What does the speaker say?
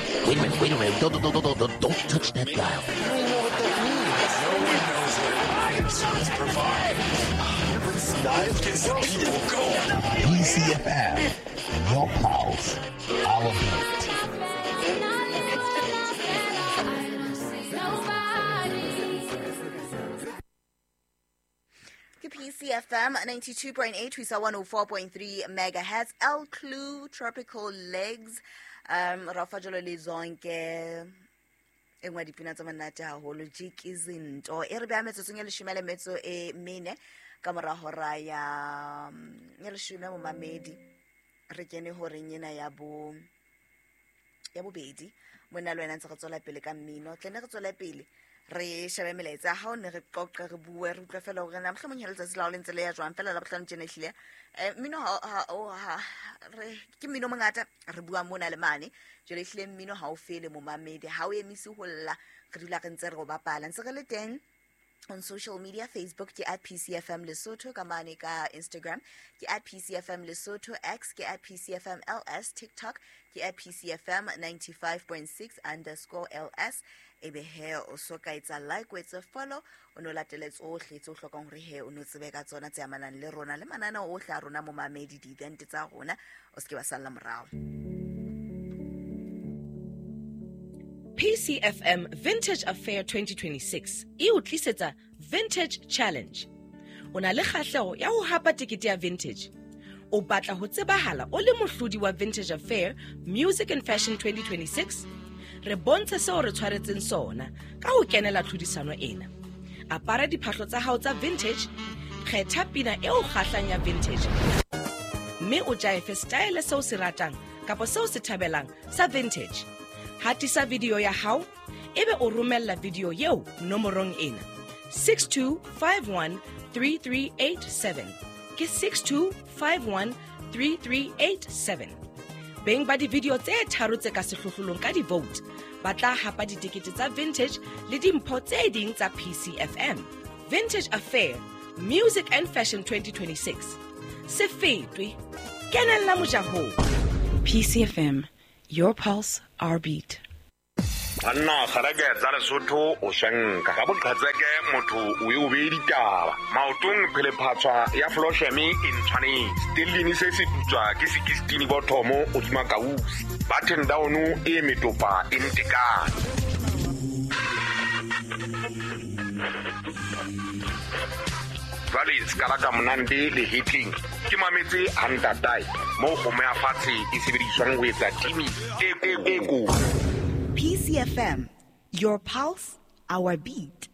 Wait a minute, wait a minute. Don't, don't, don't, don't, don't touch that dial. PCFM, your pulse, our beat. Ke PCFM 92.8 ho isa 104.3 megahertz. El Clue Tropical Legs. Rafa jalo le zonke e nngwe ya dipina tsa monate haholo jikizinto e re beha metsotsong e leshome le metso e mene ka mora hora ya ya leshome momamedi. Re kene horeng ena ya bo ya bobedi mona le wena ntse re tswela pele ka mmino. Tle ne re tswele pele re shebe melaetsa ya hao, ne re qoqe, re bue, re utlwe fela hore na mohlomong he letsatsi la hao le ntse le ya jwang. Fela Labohlano tjena ehlile mmino ha re ke mmino o mongata re bua mona le mane. Jwale ehlile mmino ha o fele momamedi, ha o emise ho lla, re dula re ntse re o bapala. Ntse re le teng on social media, Facebook ke at PCFM Lesotho, ka mane ka Instagram ke at PCFM Lesotho, X ke at PCFM LS, TikTok ke at PCFM 95.6 underscore LS. Ebe he o so ka etsa like, o etse follow, o no latele tsohle tse o hlokang hore he o no tsebe ka tsona tse amanang le rona le mananeo ohle a rona momamedi, di-event tsa rona, o se ke wa salla morao. PCFM Vintage Affair 2026 e o tlisetsa Vintage Challenge. O na le kgahleho ya ho hapa tekete ya Vintage. O batla ho tsebahala o le mohlodi wa Vintage Affair Music and Fashion 2026? Re bontshe seo re tshwaretseng sona ka ho kenela tlhodisano ena. Apara diphahlo tsa hao tsa vintage, kgetha pina e o kgahlang ya vintage, mme o jaefe style seo se ratang kapa seo se thabelang sa vintage. Hatisa video ya hao, ebe o romella video eo nomorong ena 62513387. Ke 62513387. Beng ba di-video tse tharo tse ka sehlohlolong ka di-vote ba tla hapa ditekete tsa vintage le dimpho tse ding tsa PCFM. Vintage Affair Music and Fashion 2026. Se fetwe, kenella mojahong. PCFM, your pulse, our beat. Banna kgareke tsa Lesotho o shanka ka boqhetseke motho o e o beye ditaba maotong phelephatshwa ya flosheme e ntshwanetse stellini se se putswa ke sekistini bothomo hodima kausi button down e metopa e ntekane. Jwale se ka la ka monande le hitling ke mametse hantatae moo kgomo ya fatshe e sebediswang ho etsa timi e e e kotsi. PCFM, your pulse, our beat.